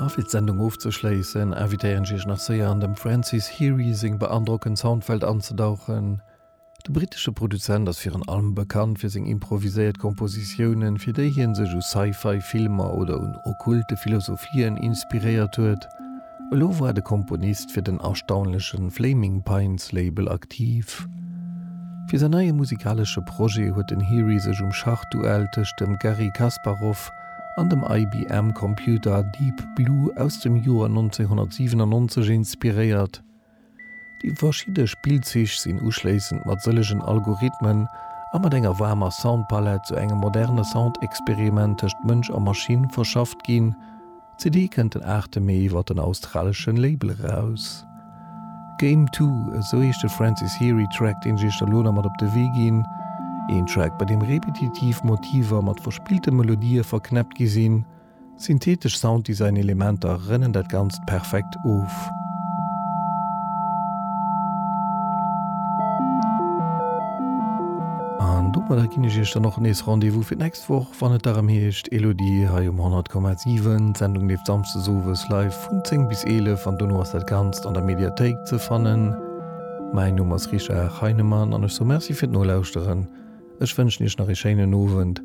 A fir d'Sendung ofzeschléissen, invitéieren ech iech nach séier an dem Francis Heery seng beandrockend Soundwelt anzedauchen. De brittesche Produzent ass virun allem bekannt fir seng improviséiert Kompositiounen, fir déi hien sech u Sci-Fi-Filmer oder un okkulte Philosophien inspiréiert huet. Elo war de Komponist fir den erstaunleche Flaming Pines Label aktiv. Fir säin neie musikalesche Projet huet den Heery sech um Schachduell tëscht dem Garry Kasparov an dem IBM Computer Deep Blue aus dem Joer 1997 inspiréiert. Déi verschidde Spillzich sinn uschléissend mat sëllegen Algorithmen a mat enger waarmer Soundpalett zu engem moderne Soundexperiment tëscht Mënsch a Maschinn verschafft ginn. D'CD kënnt den 8 Mee iwwer den australeschen Label eraus. Game Two, esou heescht de Francis Heery Track, deen ech iech da lo nach mat op de Wee ginn. Een Track, bei deem repetitiv Motiver mat verspillte Melodië verknäppt gi sinn. Synthetesch Sounddesign-Elementer rënnen dat Ganzt perfekt of. An domadder ginn ech iech dann och nees Rendez-vous fir d'nächst Woch, wann et da rëm heescht Elodie hei um 100,7. D'Sendung leeft samschdes owes live vun 10 bis 11 an dono ass dat Ganzt an der Mediathéik ze fannen. Mäin Numm ass Richard Heinemann an ech soe Merci fir d'Nolauschteren. Ech wënschen iech nach ee schéinen Owend.